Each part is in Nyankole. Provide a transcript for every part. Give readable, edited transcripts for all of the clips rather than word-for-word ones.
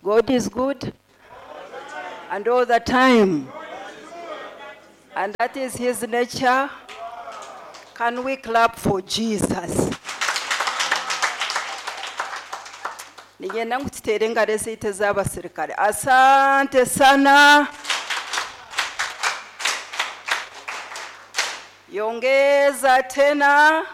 God is good and all the time. And that is his nature. Can we clap for Jesus? Niinyenda ngu tuteere engaro ezaitu ez'abasirikare. Asante sana. Yongeza tena.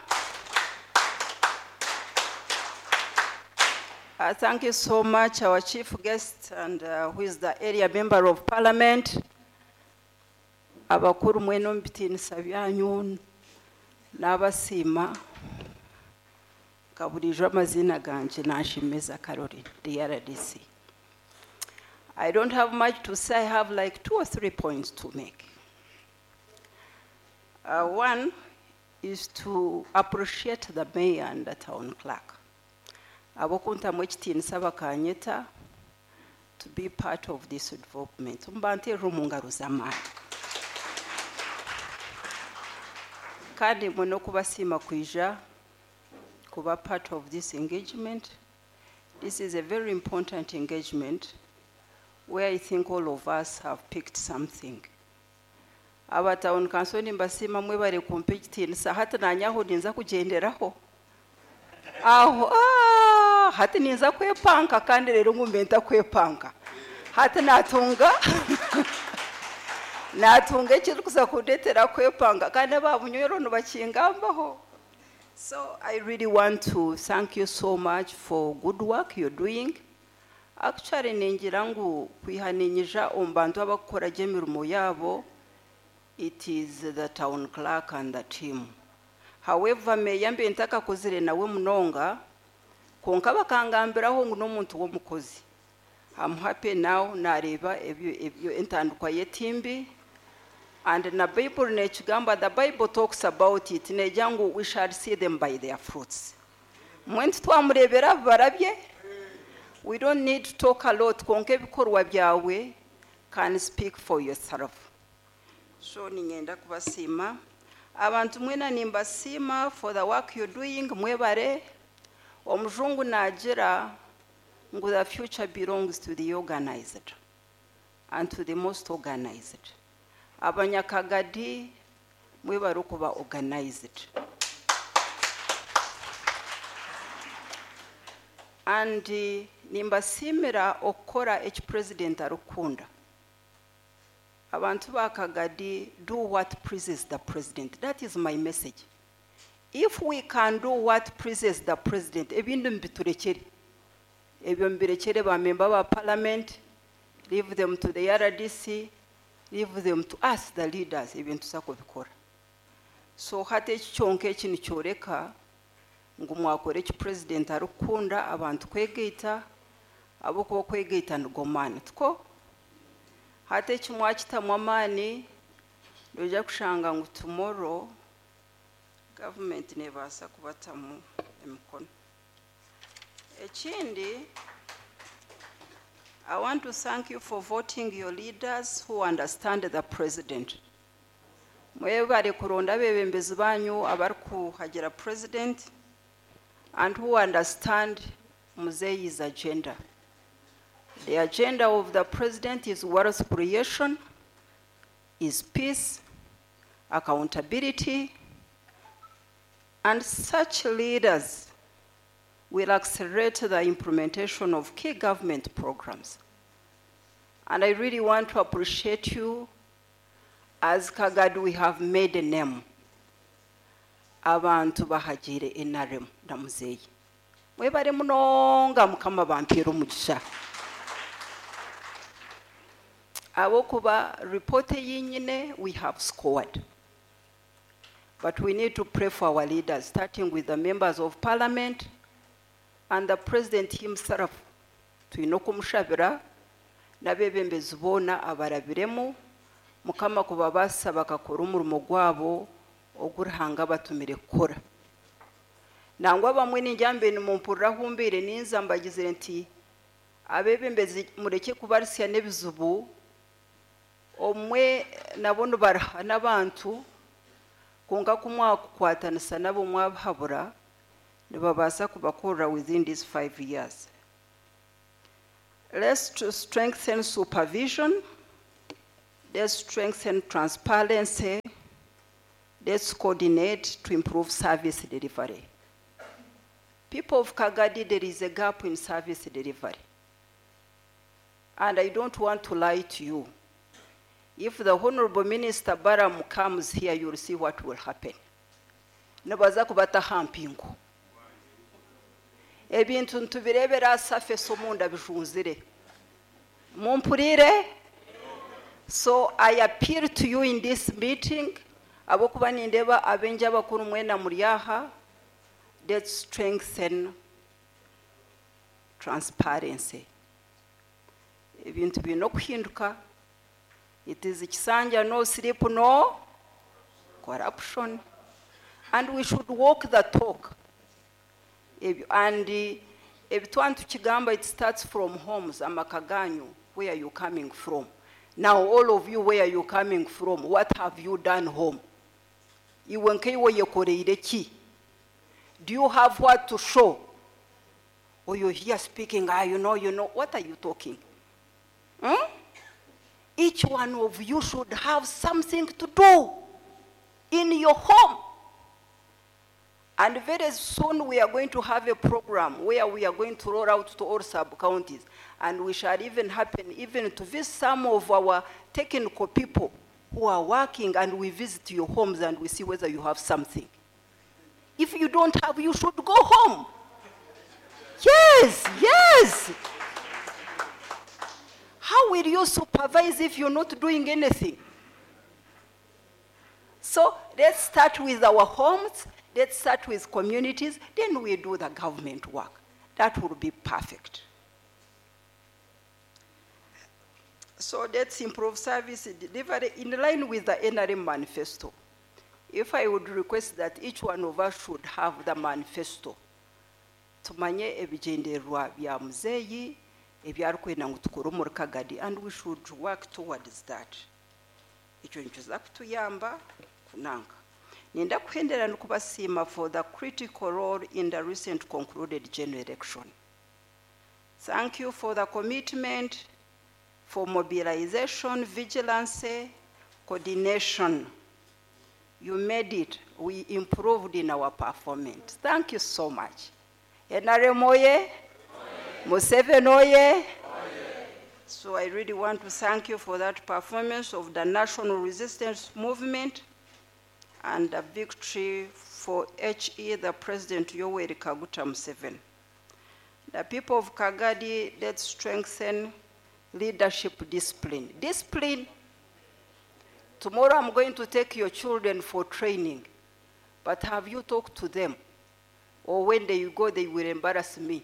Thank you so much, our chief guest, and who is the area member of parliament. Abakuru mwena omu bitiinisa byanyu n'abasiima nka buriijo amaziina gangye Nanshemeza Caroline, the RDC. I don't have much to say. I have like 2 or 3 points to make. One is to appreciate the mayor and the town clerk. Abokuntamu ekitiinisa bakanyeta to be part of this development. Mbanteerera omu ngaro z'amaani. Kandi mbone n'okubasiima kwija kuba part of this engagement. This is a very important engagement where I think all of us have picked something. Aba town council nimbasiima mwebare kumpa ekitiinisa. Hati naanye aho ninza kugyenderaho. Aho, hati ninza kwepanka kandi rero ngu mbe ntakwepanka. Hati natunga ekirikuza kundetera kwepanga kandi aba Bunyoro nibakingambaho. So I really want to thank you so much for good work you're doing. Actually ningira ngu kwiha ninyija omu bantu abakukora gye emirimo yaabo, it is the town clerk and the team. However, meya mbe ntakakozire nawe munonga, konka bakangambiraho ngu n'omuntu w'omukozi. I'm happy now nareeba ebyo entandikwa y'etimbi. And na Bible nekigamba, the Bible talks about it, negira ngu we shall see them by their fruits. Mwe titwamureebera barabye. We don't need to talk a lot, konka ebikorwa byawe can speak for yourself. So ninyenda kubasiima. Abantu mwena nimbasiima for the work you're doing, mwebare. Omujungu nagira ngu the future belongs to the organized and to the most organized. Abanyakagadi mwebare okuba organized. And nimbasiimira okukora eki president arikukunda. Abantu ba Kagadi, do what pleases the president. That is my message. If we can do what pleases the president, ebindi mbiturekere. Ebyo mbirekere ba member ba parliament, leave them to the RDC, leave them to us, the leaders, ebintu tuza kubikora. So hati eki kyonka eki nikyoreka ngu mwakora eki president arikukunda abantu kwegaita, ahabw'okuba okwegaita nigo maani. Tiko? Hati eki mwakitamu amaani, noija kushanga ngu tomorrow government neebaasa kubatamu emikono. Ekindi, I want to thank you for voting your leaders who understand the president. Mwebare kuronda abebembezi banyu abarikuhagira president and who understand Muzeyi's agenda. The agenda of the president is wealth creation, is peace, accountability, and such leaders will accelerate the implementation of key government programs. And I really want to appreciate you. As Kagadi, we have made a name. Abantu bahagire NRM na Muzeyi. Mwebare munonga Mukama bampeere omugisha. Ahabw'okuba report eyinyine, we have scored. But we need to pray for our leaders, starting with the members of parliament and the president himself. Twine okumushabira n'abebembezi boona abarabiremu, Mukama kubabaasa bakakora omurimo gwabo ogu Ruhanga abatumire kukora. Nangwa abamwe ningira mbe nimumpurira ahu mbaire ninza mbagizire nti abebembezi mureke kubarisya n'ebizibu, omwe nabo nibaruha n'abantu, kwonka ku mwakukwatanisa nabo mwabahabura, nibabaasa kubakorera within these 5 years. Let's to strengthen supervision. Let's strengthen transparency. Let's coordinate to improve service delivery. People of Kagadi, there is a gap in service delivery. And I don't want to lie to you. If the Honorable Minister Baram comes here, you'll see what will happen. Nibaza kubataho ampingu. Ebintu nitubireebera surface omunda bijunzire. Mumpurire? So I appeal to you in this meeting, abokuba nindeeba abengi abakuru mwena muri aha, let's strengthen transparency. Ebintu biine okuhinduka. It is kisanja no sleep, no corruption. And we should walk the talk. And ebitwa tukigamba, it starts from homes, amaka ganyu, where you coming from. Now all of you, where you coming from, what have you done home? Iwe nkaiwe yekoreire ki? Do you have what to show? Or you're here speaking, you know, what are you talking? Each one of you should have something to do in your home. And very soon we are going to have a program where we are going to roll out to all sub-counties. And we shall even happen even to visit some of our technical people who are working, and we visit your homes and we see whether you have something. If you don't have, you should go home. Yes. How will you supervise if you're not doing anything? So let's start with our homes, let's start with communities, then we do the government work. That will be perfect. So let's improve service delivery in line with the NRM manifesto. If I would request that each one of us should have the manifesto, tumanye ebigyendererwa bya muzeeyi ebyarikwenda ngu tukore omuri Kagadi, and we should work towards that. Ekyo nikiza kutuyamba kunanga. Nenda kuhendera nikubasiima for the critical role in the recent concluded general election. Thank you for the commitment, for mobilization, vigilance, coordination. You made it. We improved in our performance. Thank you so much. NRM oye! Museveni oye! So I really want to thank you for that performance of the National Resistance Movement and the victory for HE, the President Yoweri Kaguta Museveni. The people of Kagadi, let's strengthen leadership discipline. Discipline. Tomorrow I'm going to take your children for training, but have you talked to them? Or when they go, they will embarrass me.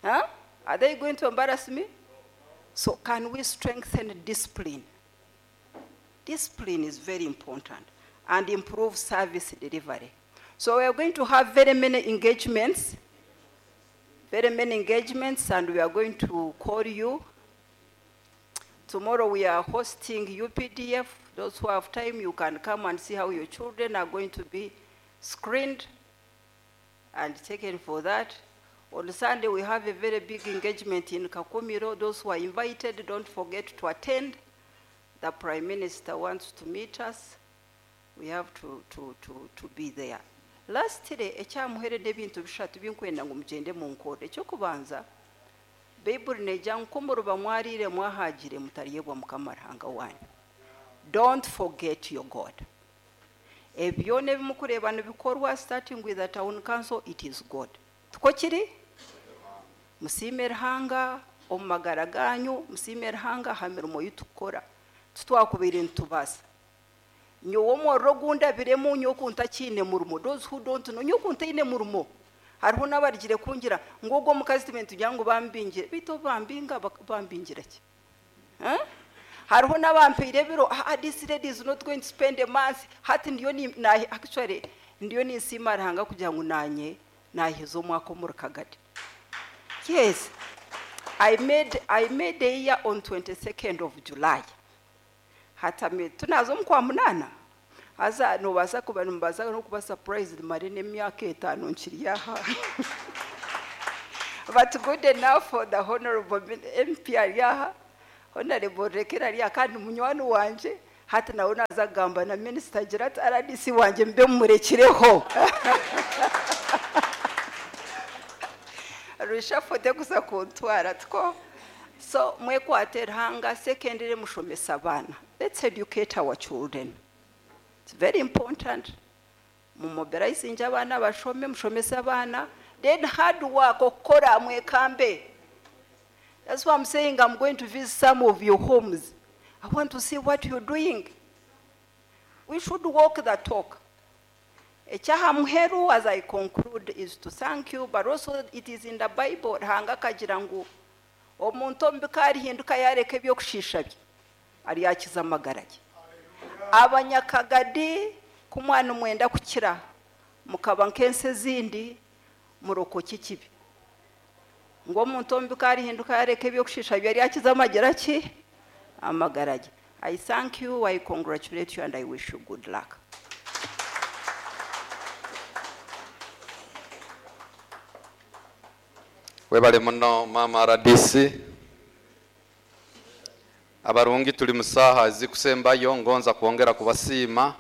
Huh? Are they going to embarrass me? So can we strengthen discipline? Discipline is very important, and improve service delivery. So we are going to have very many engagements, very many engagements, and we are going to call you. Tomorrow we are hosting UPDF. Those who have time, you can come and see how your children are going to be screened and taken for that. On Sunday, we have a very big engagement in Kakumiro. Those who are invited, don't forget to attend. The Prime Minister wants to meet us. We have to be there. Lastly, ekyamuherede ebintu bishatu binkwenda ngu mugyende munkore. Ekyokubanza, Baibuli negira ngu muruba mwarire mwahagire mutaryebwa Mukama Ruhanga wanyu. Don't forget your God. Ebyo nebimukureeba nibikorwa, starting with the town council, it is God. Tuko kiri? Musiime Ruhanga omu magara ganyu, musiime Ruhanga aha mirimo yitukukora. Titwakubaire nitubaasa. Nyowe omuriro ogundabiremu nyowe oku ntakiine murimo. Those who don't know, nyowe oku ntaine murimo. Hariho n'abarigire kungira ngu ogwo omukazi tugira ngu bambingire, beitu obu bambinga bambingira ki? Huh? Hariho n'abampeire ebiro, this lady is not going to spend a month. Hati ndiyo ni, na, actually ndiyo ninsiima Ruhanga kugira ngu nanye naheza omwaka omuri Kagadi. Yes, I made a year on 22nd of July. Hatame tunaza omu kwa munana. Haza nobaasa kuba nimubaasa n'okuba surprised mare n'emyaka 5 nkiri aha. But good enough for the honorable MP ari aha, honorable Rekera ari aha kandi munywani wangye, hati nawe naaza kugamba na minisita agire ati RDC wangye mbe mumurekireho. Reshuffle tekuza kuntwara tikwo? So mwekwate Ruhanga, secondly mushomese abaana. Let's educate our children. It's very important. Mumobilizinge abaana bashome, mushomese abaana, then hard work, okukora mwekambe. That's why I'm saying I'm going to visit some of your homes. I want to see what you're doing. We should walk the talk. Ekyaha muheru, as I conclude, is to thank you, but also it is in the Bible, Ruhanga akagira ngu omuntu omubi ku arihinduka yareka ebyokushiisha bye, aryakiza amagara ge. Abanyakagadi, ku mwana mwenda kukira, mukaba nk'ensi ezindi, murokoke ekibi. Ngu omuntu omubi ku arihinduka yareka ebyokushiisha bye, aryakiza amagara ki? Amagara ge. I thank you, I congratulate you, and I wish you good luck. Webale muno mama RDC. Abarungi tuli musaha ezikusembayo, ngonza kwongera kubasiima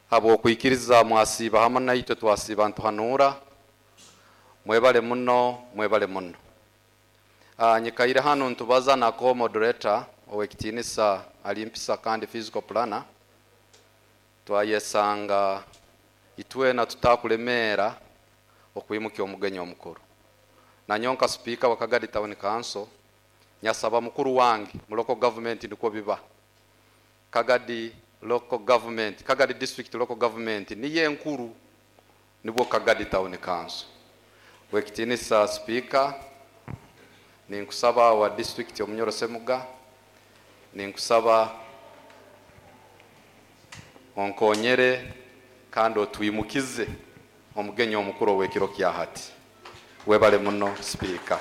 habwokwikiriza mwasiiba hamwe naitwe twasiiba ntuhanura. Mwebale muno, mwebale muno. Nyikaire hanu ntubaza na co-moderator owekitinisa alimpisa kandi physical planner. Twayesanga itwena tutakulemera okwimukia omugenyi omukuru. Nanyonka speaker wa Kagadi Town Council nyasaba mukuru wange mu local government niko biba. Kagadi local government, Kagadi district local government niye nkuru nibwo Kagadi Town Council. Wekitinisa speaker ninkusaba wa district Omunyoro Semuga, ninkusaba onkonyere kandi otwimukize omugenyi omukuru ow'ekiro kya hati. Webale muno speaker.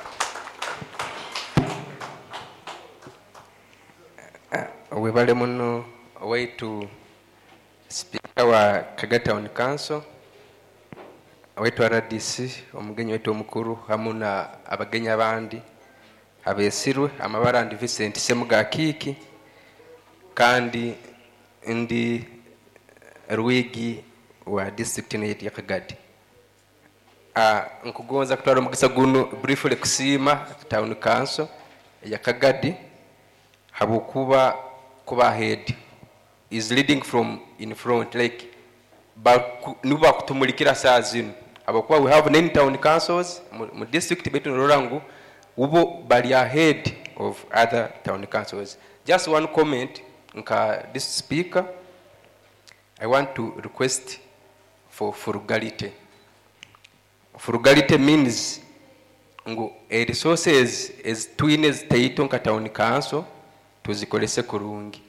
Webale muno owaitu speaker wa Kagadi Town Council, owaitu RDC, omugenyi waitu omukuru hamu na abagenyi abandi abesirwe. Amabara ndi Vincent Semuga Kiki kandi ndi Rwigi wa district yetu ya Kagadi. Nkugonza kutwara omugisa guno briefly kusiima Town Council ya Kagadi habwokuba kuba ahead is leading from in front, like nibo bakutumulikira saa zino, habwokuba we have 9 town councils mu district betu norora ngu ubo bali ahead of other town councils. Just one comment nka this speaker, I want to request for frugality. Frugality means ngu resources as twine zitaito nka town council tuzikolese kurungi,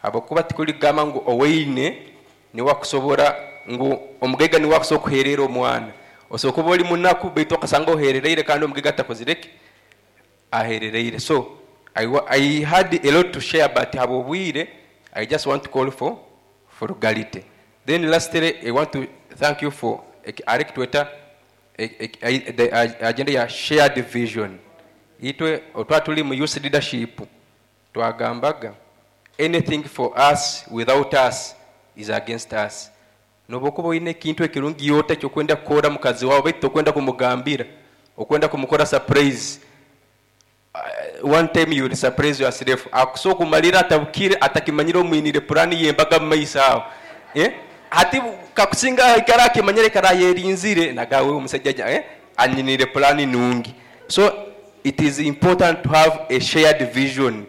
habwokuba tikuligamba ngu oweine niwakusobora ngu omugaiga niwakusobola kuherera omwana, osobola kuba oli munaku baitu okasanga oherereire kandi omugaiga atakozireki aherereire. So I had a lot to share, but habwobwire I just want to call for frugality. Then lastly I want to thank you for arekitweta the agenda ya shared vision. Itwe otwa tuli mu youth leadership twagambaga anything for us without us is against us. Nobokuba oyine ekintu ekirungi yote kyokwenda kukora mukazi wawe baitu tokwenda kumugambira, okwenda kumukora surprise. One time you will surprise yourself. Akusobola kumalira atabukire atakimanyire omwinire purani yembaga mu maiso aho. Hati kakusinga ikara akimanyire kara yerinzire nagawe omusajja anyinire purani nungi. So it is important to have a shared vision.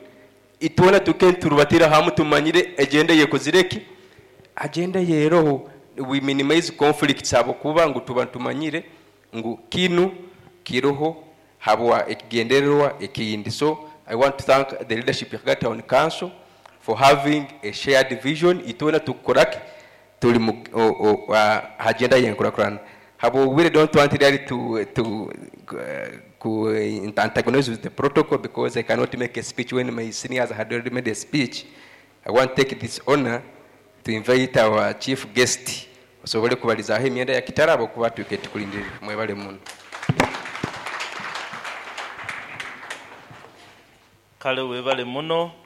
Itwena tukenturubatira hamu tumanyire agenda yekozireki agenda yeroho, we minimize conflicts habwokuba ngu tuba tumanyire ngu kinu kiroho habwa ekigendererwa ekindi. So I want to thank the leadership ya Kagadi Town Council for having a shared vision. Itwena tukoraki tuli mu agenda yenkurakurana. Habo we don't want really to antagonize with the protocol because I cannot make a speech when my seniors had already made a speech. I want to take this honor to invite our chief guest osobole kubalizaho emyenda ya kitarabo kuba tuke tukulindire. Mwebale muno. Kale webale muno.